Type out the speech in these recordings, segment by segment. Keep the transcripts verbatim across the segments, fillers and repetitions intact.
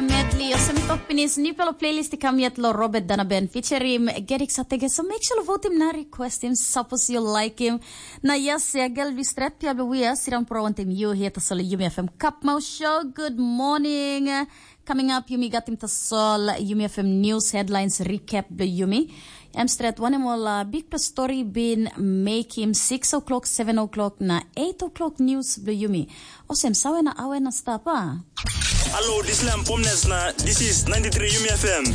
Medley, olsem mi tok pinis, nupela playlist i kam yet lo Robert Danaben featuring Gedik Satege. So make sure lo votim na requestim, suppose you like him. Na yes, ya gel bi stret pia bi wia, sidang pro wantem you here to solo Yumi F M Cup Mouse Show. Good morning. Coming up, Yumi gatim tasol Yumi F M News Headlines Recap blo Yumi. Em stret wanem ol uh, big plus story bin make him six o'clock, seven o'clock na eight o'clock news blo Yumi. Osem sawe na awe na stap, ah? Hello, this is Lam Pomnes na this is ninety-three Yumi F M.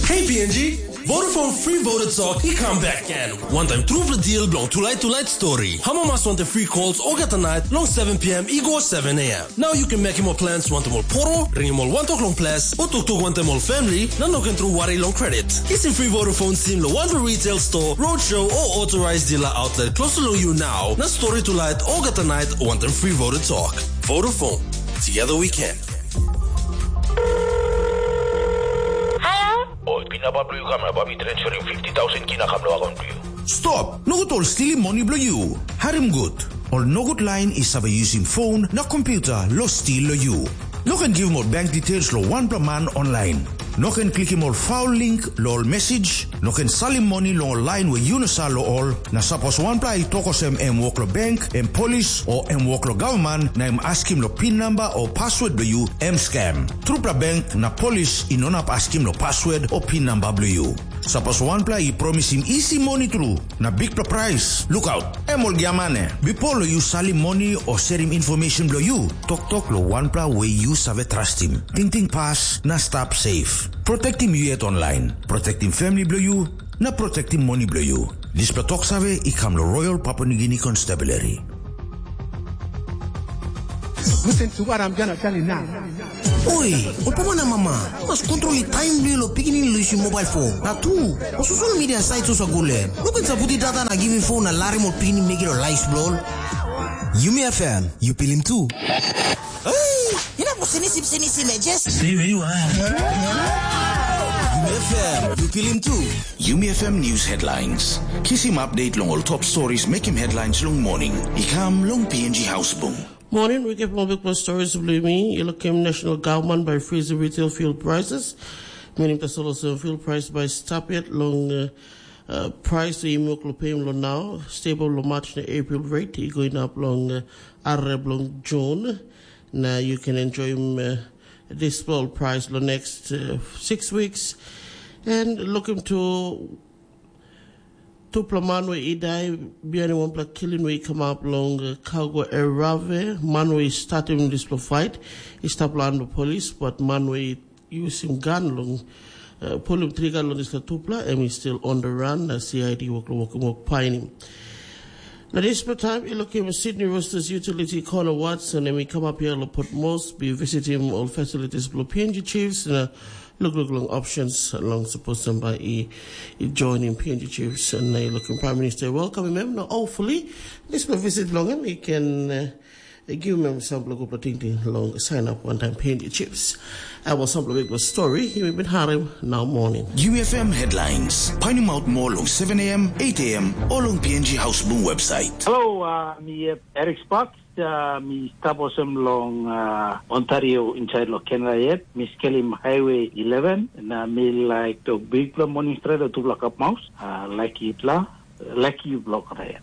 Hey P N G, Vodafone Free Voter Talk, he come back again. One time through the deal, belong to light to light story. Hama mas want the free calls, Ogata night, long seven p.m. Igor seven a.m. Now you can make him more plans, want more poro, ring him all one o'clock long plus, or tuk tuk want them all family, na no can through worry long credit. Kiss him free Vodafone sim lo one retail store, roadshow, or authorized dealer outlet close to you now. Na story to light, Ogata night, want them free Voter Talk. Vodafone. Together we can. Hello? Oi, pinapa blo yu kam na babi transferim fifty thousand kina kam lo akon blo yu. Stop! Nogut ol stilim moni blo yu. Harim gut. Ol nogut lain i save yusim phone na computer lo stil lo yu. No ken givim ol bank details lo wanpela man online. No ken klikim ol foul link lo ol message. No ken salim moni long ol lain we yu no sa lo ol. Na sapos wanpela i tok osem em wok lo bank, em polis, o em wok lo gavman, na em askim lo pin namba o password blo yu, em scam. Trupela bank na polis i no nap askim lo password o pin namba blo yu. Sapos wanpela i promisim isi moni tru, na bikpela prais, lukaut, em ol giamane. Bipo lo yu salim moni o serim information blo yu, toktok lo wanpela we yu save trastim. Tingting pas na stap safe. Protektim yu yet online. Protektim family blo yu, na protektim moni blo yu. Dispela tok save i kam lo Royal Papua New Guinea Constabulary. Listen to what I'm gonna tell you now. Oi, ol papa na mama, mas kontrol i taim bilong lo pikinini lusim mobile phone. Na tu, o social media site susa gule. Lukin saputi data na giving phone na larim ol pikinini megi lo life bro. Yumi F M, you pilim tu. Hey, you know, sinisim, sinisim, eh, just stay where you are. Yumi F M, you pilim tu. Yumi F M News Headlines. Kisim update long ol top stories mekim headlines long morning. I kam long P N G House Bung. Morning, we get more big stories of Lumi. You look him national government by freezing retail fuel prices. Meaning the solar fuel price by stop it long uh, uh, price we muk lo pay lo now. Stable lo March na April rate. He going up long uh, Arab long June. Now you can enjoy him uh, this small price lo next uh, six weeks. And look him to tupela man we i dai bihain wanpela killing we i kamap long uh, Kago Erave. Man we i statim dispela fight i stap long polis, but man we i yusim gan long uh, pulim triga long dispela tupela, em i still on the run, na C I D wok wok wok painim. Na dispela taim i lukim Sydney Roosters utility Connor Watson, em i kamap here lo Port Moresby, visitim ol facilities blo P N G Chiefs, na look look long options long suppose somebody i, i joining P N G Chiefs, and I looking Prime Minister welcome him. Now hopefully this will visit long him he can uh, give him some local ting long sign up one time P N G Chiefs. I was some big story he been harem now morning. U F M headlines. Find him out more long seven a.m., eight a.m. or long P N G House Boom website. Hello, uh, mi uh, Eric Sparks. Uh, mi stap olsem long uh, Ontario inside lo Canada yet. Mi skelim Highway eleven na mi like to big lo morning straight o tupela kap maus. Uh, like yupela, like you block yet.